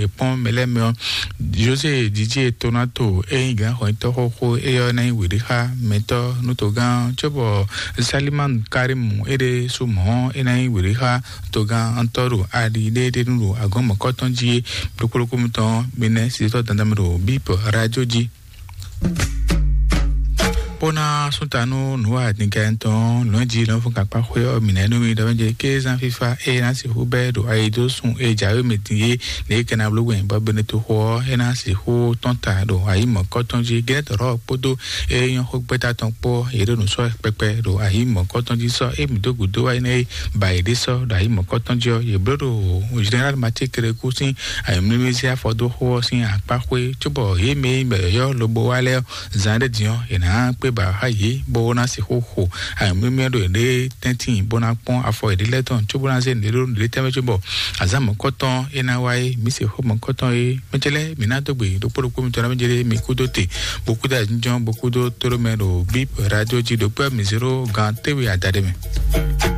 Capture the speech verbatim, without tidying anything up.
è kpɔ́n mɛ lɛ́ɛ mɛ ɔ́, José Didier Tonato e nyí gǎnxɔnyitɔ́ xóxó éyɔ́ ná nyí wěɖéxá mɛtɔ́ nú togán cóbɔ Saliman Karim éɖée sú mɔ̌ é ná nyí wěɖéxá togán ntɔ́ ɖo ali ɖé ɖé nú ɖo agɔ̌n mɔ̌kɔ́tɔn jí é. Ɖokpó ɖokpó mitɔn mi nɛ́ sitɔ́ dandan mɛ ɖo bíp radio jí. Pona sɔ́ta nú nǔ wa dingɛ tɔn lɔ̌nji lɔn fún kakpa xwé ɔ́ mǐ nɛ́ nú mi ɖɔ jɛ kézan fífá e ná sixú bɛ́ ɖo ayidósun e jǎwe mɛ din é lě kɛ ná bló wɛn bɔ bɛnɛ toxo ɔ́ é ná sixú tɔ́n ta ɖo ayǐ mɔ̌kɔ́tɔn jí gɛ́nɛtɔ́ kpódó e nyɔ́ xó gbɛ́ta tɔn kpó yě ɖo nǔ sɔ́ kpɛkpɛ ɖo ayǐ mɔ̌kɔ́tɔn jí sɔ́ e mǐ dó gǔdo wá énɛ́ é ba yě ɖé sɔ́ ɖo ayǐ mɔ̌kɔ́tɔn jí ɔ́ yě bló ɖo général Mathieu Kérékou sín ayǐmlímlí sín afɔdóxó ɔ́ sín akpá xwé cóbɔ yě mɛ e nyí mɛ yɔ̌yɔ́ lobo wá lɛ́ɛ ɔ́ zan ɖé din ɔ́ è nǎ kpé ba xá yě bó ná sixú xo ayǐmlímlí ɖo yěɖée tɛ́ntin bó ná kpɔ́n afɔ yěɖée lɛ́ɛ tɔn cóbó ná zé nǔɖé ɖó nǔɖé tɛ́mɛ cóbɔ azǎn mɔ̌kɔ́tɔn é ná wá é mǐ se xó mɔ̌kɔ́tɔn é mɛtɛ́ lɛ́ɛ mǐ ná dó gbe ɖokpó ɖokpó mitɔn ná mɛ jɛ ɖé mi kúdó te bó kúdó ayǐjínjɔ́n bó kúdó tóɖó mɛ ɖo bíp radio jí ɖokpó mi zéro gan téwe adaɖé mɛ.